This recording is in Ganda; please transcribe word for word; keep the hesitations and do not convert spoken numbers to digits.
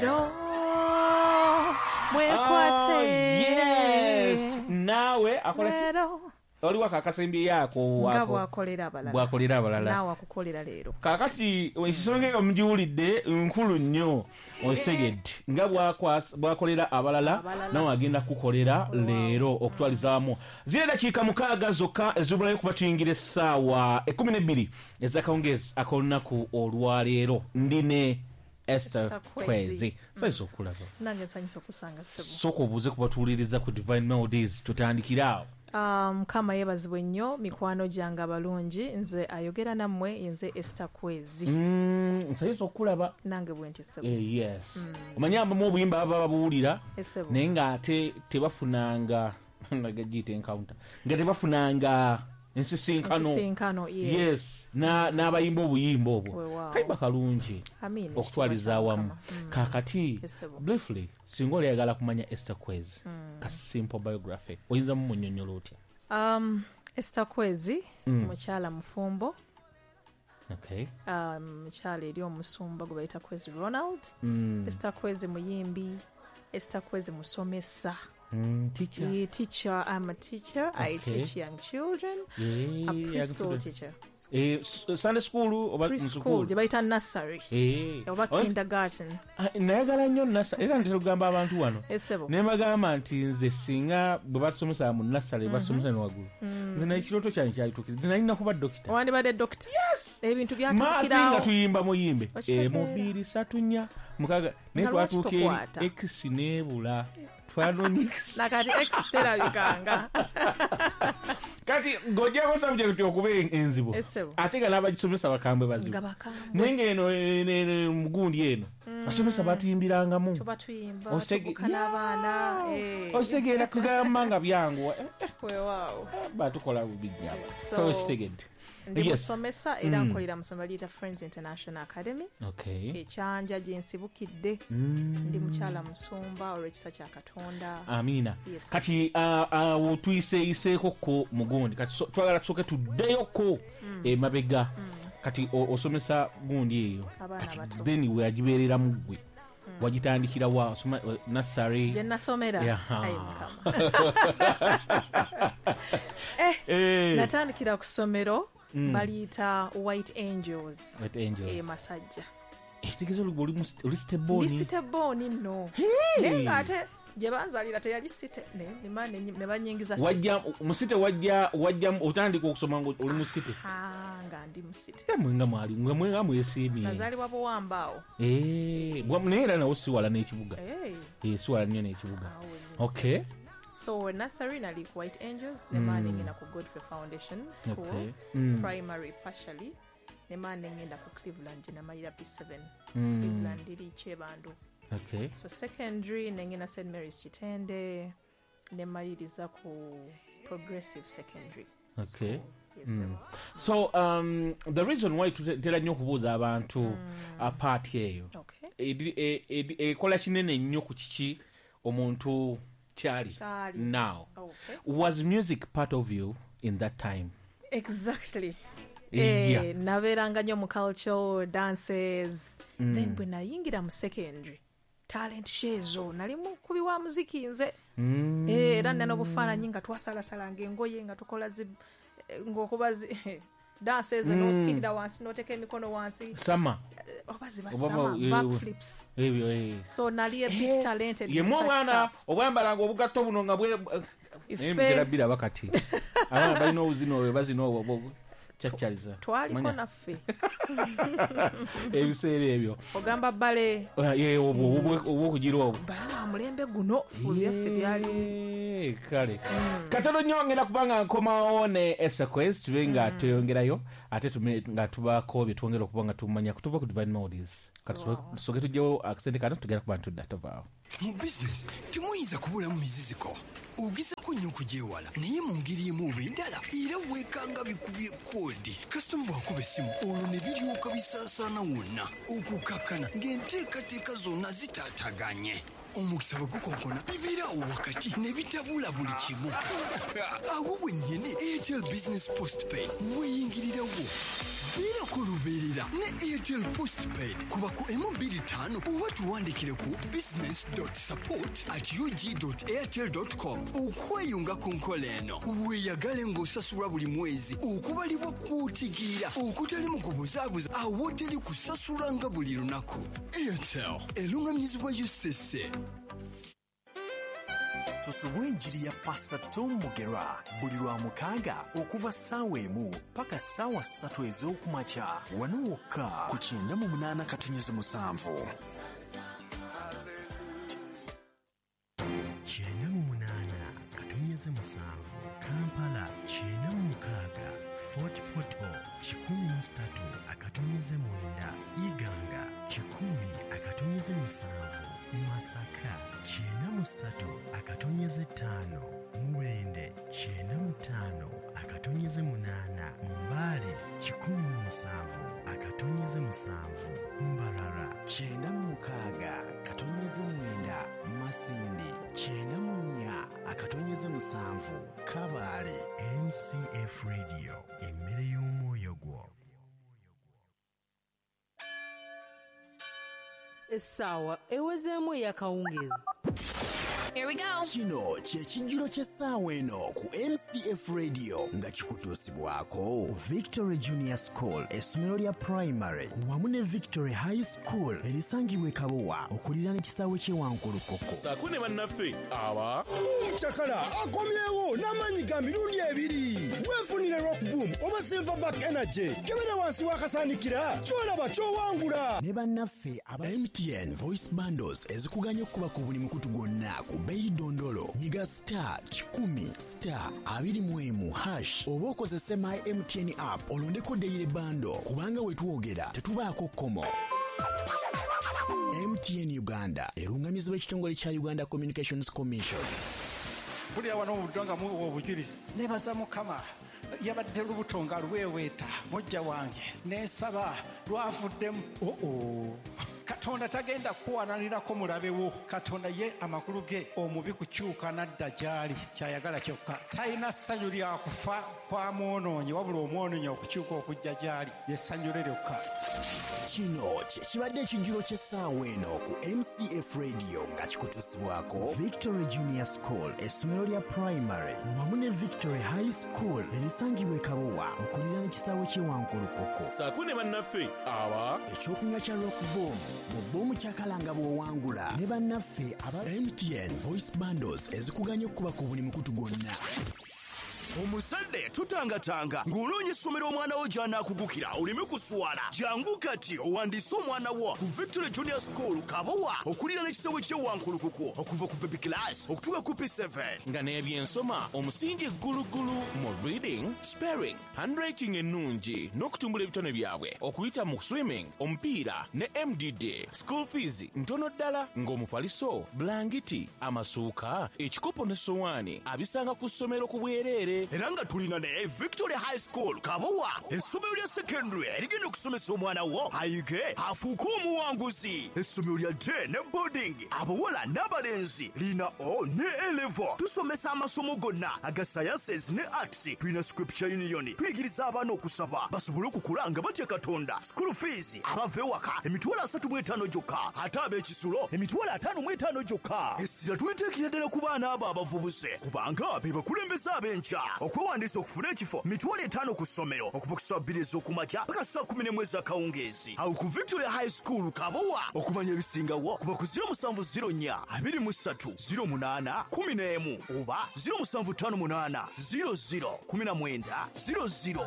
Leero mwekwate. Oh, yes, naawe akola ki? Leero. Oliwo akakasembyeyo nga bwakolera abalala, bwakolera abalala, naawe akukolera leero. Kakati ensonga eyo mugiwulidde, nkulu nnyo. Osegedde nga bwakwas- bwakolera abalala, Abalala. nawe agenda kukolera leero. Okutwalizaamu ziri dakiika mukaaga zokka ezibulayo kuba tuyingira essaawa ekkumi n'ebbiri ez'akawungeezi ak'olunaku olwaleero. Ndi ne Esther Esther Kwezi. Kwezi. Nsanyusa okulaba. Nange nsanyusa okusanga, ssebo. Sooka obuuze ku batuwuliriza ku Divine Melodies, tutandikire awo. Ah, Mukama yeebazibwe nnyo. Mikwano gyange abalungi, nze ayogera nammwe yenze Esther Kwezi. Mm, nsanyusa okulaba. Nange bwe ntyo, ssebo. Eh, yes, omanyi abamu obuyimba baba babuwulira, Essebo. naye ng'ate tebafunanga nagagiyita encounter, nga tebafunanga ensisinkano. Ensisinkano, yes. Yes, na- n'abayimba obuyimba obwo. Weewaawo. Kayimba kalungi. Amiina. Okutwaliza Ekitiibwa kya awamu. Mukama. Mm. Kakati Essebo. briefly, singa olyagala kumanya Esther Kwezi, ka simple biography, oyinza mumunyonyola otya? Um, Esther Kwezi Mm. mukyala mufumbo, okay um, mukyala eri omusumba gwe bayita Kwezi Ronald. mm. Esther Kwezi muyimbi, Esther Kwezi musomesa. Mm, teacher. Yeah, teacher. I'm a teacher. I Okay. teach young children. Yeah, A preschool young children. teacher. Eh, s- sunday school oba Preschool gye bayita nursery Eh. oba Oh, kindergarten. ah, nayagala nnyo nursery, era ntera okugamba abantu wano Essebo. ne bagamba nti nze singa bwe batusomesa mu nursery, batusomesa ne waggulu, nze naye ekirooto kyange kyalituukiriza, nze nalina kuba dokita. Wandibadde doctor. Ebintu Maazi nga byatabukirawo. tuyimba muyimbe. Okitegeera. Emu, bbiri, ssatu, nnya, mukaaga, naye Nga lwaki twatuuka eri tokwata? X neebula, twanoonya X. Nakati X terabikanga. Kati ng'ogyako subject okuba enzibu, Essebo. ate nga n'abagisomesa bakambwe bazibu. Nga bakambwe. Naye ng'eno eno- eno mugundi eno basomesa batuyimbirangamu. Tuba tuyimba, Osege- tubuka n'abaana. Eh. Ositegeera kugamba nga byanguwa. Eh, eh, Weewaawo. Batukola bubijjaba. So, Okitegedde? ndi Yes. musomesa era nkolera mu ssomero liyita Friends International Academy okay ekyanja gye nsibukidde. Mm. Ndi mukyala musumba olw'ekisa kya Katonda. Amiina. Yes. Kati ah, awo tuyiseeyiseeko ko mugundi, kati so- twagala tusooke tuddeyoko emabega. Kati o- osomesa gundi eyo, Abaana kati abato. then weagibeereramu ggwe wagitandikira wa? Osoma nursery? Gye nasomera? Yeah. Ayi Mukama. Eh, Eh, natandikira ku ssomero baliyita White Angels. White Angels. E Masajja. Ekitegeeza oli oli mu- oli city born? Ndi city born nno, naye ng'ate gye banzalira teyali city, ne ne- ne ne banyingiza city. Wajja mu city, wajja wajja otandika okusoma nga oli mu city? Ah, nga ndi mu city. Mwe nga mwali mwe mwe nga mwesiimye. Nazaalibwa Buwamba awo. Eh, bwa- naye era nawo si wala n'ekibuga. Eh, Eh, si wala nnyo n'ekibuga. Awo wennyini. Okay So nursery nali ku White Angels, ne maa nengenda ku Godfrey Foundation School. Okay. Mm. Primary partially, ne maa nengenda ku Cleveland gye namalira P seven. Mm. Cleveland eri Kyebando. Okay so secondary nengenda Saint Mary's Kitende, ne maliriza ku Progressive Secondary Okay School. Yes, sir. So um, the reason why tutera nnyo okubuuza abantu mm. part eyo, okay edi- e- edi- ekola kinene nnyo ku kiki omuntu kyali. Kyali. Now, okay was music part of you in that time? Exactly. Eh, yeah. Eh, nabeeranga nnyo mu culture dances mm. Then bwe nayingira mu secondary, talent show ezo, nali mukubi wa muziki nze. Mm. Eh, era nina n'obufaananyi nga twasalasalanga engoye nga tukola zi eh, ng'okuba zi dance ezo, Mm. n'okkirira wansi n'oteeka emikono wansi. Sama. Eh, oba ziba Oba sama ba- eh, backflips. Ebyo eh. So nali a bit talented Yemu in such obwana stuff. obwambalanga obugatto buno nga bwe naye Ife- mutera biraba kati abaana balina obuzina obwo bazina obwo obwo kyakyaliza. Twaliko Manya, naffe. Ebiseera ebyo. Ogamba bale. Ye, obwo obwo- obwokugira obwo. Bale wa mulembe guno, ffe byaffe byali. Eh, kale katono nnyo ngenda kuba nga nkomawo ne Esaquez, tube nga tweyongerayo ate tume nga tubaako bye twongera okuba nga tumanya kutuva ku Divine Melodies. Kati tusooke tugyewo akasente kano, tugenda kuba ntudda, tovaawo. Mu bizinesi temuyinza kubulamu miziziko. Ogezako nnyo okugyewala, naye mu ngeri emu oba endala era weekanga bikubye koodi. Kasitoma bw'akuba essimu, olwo ne biryoka bisaasaana wonna, okukakkana ng'enteekateeka zonna zitaataganye. Omukisa bwe gukonkona bibeerawo wakati ne bitabula buli kimu. Awo wennyini Airtel Business Postpaid weeyingirirawo. Beerako lubeerera ne Airtel Postpaid kuba ku emu bbiri ttaano oba tuwandikire ku business dot support at ug dot airtel dot com okweyunga ku nkola eno. Weeyagale ng'osasulwa buli mwezi okubalibwa kw'otegeera okutali mu kubuzaabuza awoteri kusasula nga buli lunaku. Airtel erungamizibwa U C C. Tusubwe enjiri ya Pastor Tom Mugera buli lwa mukaaga okuva ssaawa emu paka ssaawa ssatu ez'okumakya wano wokka ku kyenda mu munaana katonnyeze musanvu. Kyenda mu munaana katonnyeze musanvu Kampala, kyenda mu mukaaga Fort Portal, kikumi mu ssatu akatonyeze mwenda Iganga, kikumi akatonyeze musanvu Masaka, kyenda mu ssatu akatonyeze ttaano Mubende, kyenda mu ttaano akatonyeze munaana Mbale, kikumi mu musanvu akatonyeze musanvu Mbarara, kyenda mu mukaaga katonyeze mwenda Masindi, kyenda mu nnya akatonyeze musanvu Kabale. M C F Radio, emmere y'omwoyo gwo. Essaawa ewezeemu ey'akawungeezi. Here we go. Kino kye kijjulo ky'essaawa eno ku M C F Radio nga kikutuusibwako Victory Junior School, essomero lya primary wamu ne Victory High School erisangibwa e Kabowa okuliraana ekisaawe ky'e Wankulukuku. Saako ne bannaffe aba Omucakala akomyewo n'amaanyi ga mirundi ebiri. Weefunire Rock Boom oba Silverback Energy. Kebera wansi w'akasaanikira ky'olaba ky'owangula. Ne bannaffe aba M T N Voice Bundles ezikuganya okuba ku buli mukutu gwonna ku bei dondolo. Nyiga star kikumi star abiri mu emu hash oba okozese My M T N app olondeko daily bundle kubanga wetwogera tetubaako kkomo. M T N Uganda erungamizibwa ekitongole kya Uganda Communications Commission. Mpulira wano obuddo nga muwa obujulizi. Neebaza Mukama yabadde lubuto nga lweweeta mujja wange nensaba lwavuddemu. Oo, Katonda tagenda kuwananirako mulabe wo. Katonda ye amakulu ge omubi kukyuka n'adda gy'ali kyayagala kyokka. Talina ssanyu lya kufa kwa mwonoonyi wabula omwonoonyi okukyuka okujja gy'ali ye ssanyu lye lyokka. Kino kye kibadde ekijjulo ky'essaawa eno ku M C F Radio nga kikutuusibwako Victory Junior School, essomero lya primary wamu ne Victory High School erisangibwa e Kabowa okuliraana ekisaawe ky'e Wankulukuku. Saako ne bannaffe aba ekyokunywa kya Rock Boom mu bbomu kyakalanga bw'owangula ne bannaffe aba M T N Voice Bundles ezikuganya okuba ku buli mukutu gwonna. Omusande tutangatanga ng'onoonya essomero omwana wo gy'anaakugukira oleme kuswala. Jangu kati owandiise omwana wo ku Victory Junior School Kabowa okuliraana ekisaawe ky'e Wankulukuku okuva ku baby class okutuuka ku P seven. Nga n'ebyensoma omusingi ggulugulu mu reading, spelling, handwriting ennungi n'okutumbula ebitone byabwe okuyita mu swimming, omupiira ne M D D. School fees ntono ddala ng'omufaliso, bulangiti, amasuuka, ekikopo n'essowaani abisanga ku ssomero ku bwereere. Era nga tulina ne Victory High School Kabowa essomero lya secondary erigenda okusomesa omwana wo ayige afuuke omuwanguzi. Essomero lya day ne boarding abawala n'abalenzi lina O ne A level. Tusomesa amasomo gonna aga sciences ne arts. Tulina Scripture Union tuyigiriza abaana okusaba basobole okukula nga batya Katonda. School fees abava ewaka emitwalo asatu mu etaano gyokka ate ab'ekisulo emitwalo ataano mu etaano gyokka. Essira tuliteekera ddala ku baana abo abavubuse kubanga be bakulembeze ab'enkya. Okwewandiisa okufuna ekifo mitwalo etaano ku ssomero okuva ku ssaawa bbiri ez'okumakya paka ssaawa kkumi n'emu ez'akawungeezi. Awo ku Victoria High School Kabowa okumanya ebisingawo kuba ku ziro musanvu ziro nnya abiri mu ssatu ziro munaana kkumi n'emu oba ziro musanvu ttaano munaana ziro ziro kkumi na mwenda ziro ziro.